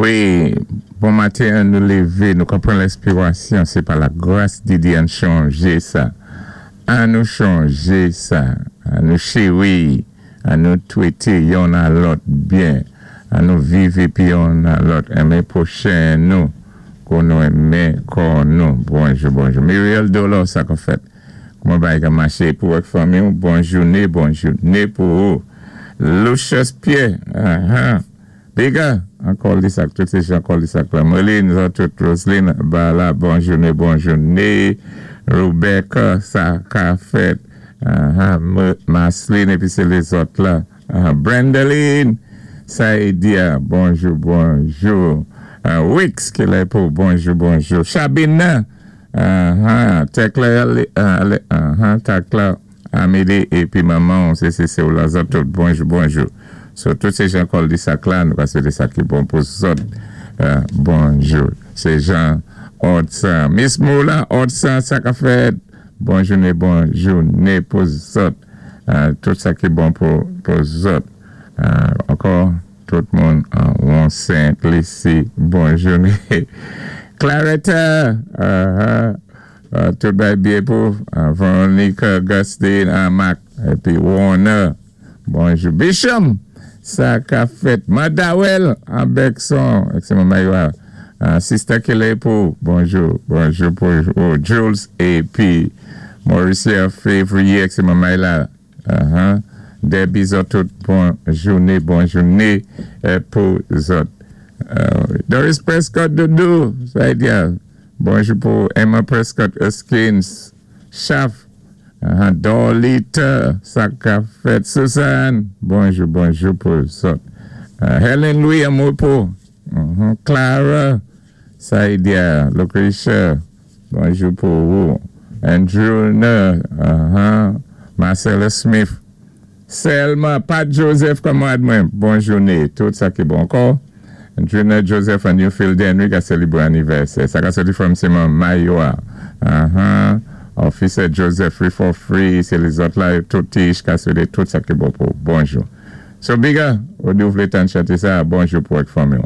Wi, bon maten, an nou lévé, nou ka pran lenspirasyon, sé pa la gras di Dye an chanjé sa. An nou chanjé sa. An nou chéwi, an nou twété yonn a lòt byen. An nou viv épi yonn a lòt enmen pwochen nou kou nou enmen kò nou. Bonjou, bonjou. Muriel Dolor, sa ka fèt? Kouman bagay ka maché pou ak fanmi ou? Bon jouné, bon jouné pou ou. Lucius Pierre, ahan. Biga, an kòldisak, tout sé jan kòldisak la. Merline, zòt tout, Roseline, ba la, bon jouné, bon jouné. Rebecca, sa ka fèt. Ahan, Marceline, épi sé lézòt la. Ahan, Brendeline, Saïdia, bonjou, bonjou. Wix, ki lè pou, bonjou, bonjou. Chabina, ahan, Tekla, ahan, Takla, Amédée, épi manman, sé ou la zòt tout, bonjou, bonjou. So, tout sé jan kòldisak la, nou ka swété sa ki bon pou zòt. Bonjou. Sé jan Odsan. Miss Moula, Odsan, sa ka fèt. Bon jouné, bon jouné pou zòt. Tout sa ki bon pou zòt. Ankò, tout moun an Saint Lucie, bon jouné. Claretta, tout bay byen pou Veronica, Augustine, Mac, épi Warner. Bonjou. Bishop, sa ka fèt. Madawel, an Bekson, c'est maman Sister Kelly pou, bonjou, bonjou pou oh, Jules épi Mauricia Février, c'est maman la. Debbie zòt tout, bon jouné, bon jouné pou zòt. Doris Prescott Doudou, sa di bonjou pou Emma Prescott Erskines, Chaf, Dorlita, sa ka fèt. Suzanne, bonjou, bonjou pou zòt. Helen Louis Amopo, Clara, Saïdia, Lucretia, bonjou pou ou. Andrew, Marcella Smith, Selma, Pat Joseph, kanmarad mwen, bon jouné, tout sa ki bon ankò. Junior Joseph and Newfield Henry ka sélébré anivèsè. Sa ka soti from Simon Mayoa. Officer Joseph, Free for Free, sé lézòt la, tout tish ka swété tout sa ki bon pou. Bonjou. So, Biga, ou di ou vlé tann chanté sa, bonjou pou ak fanmi.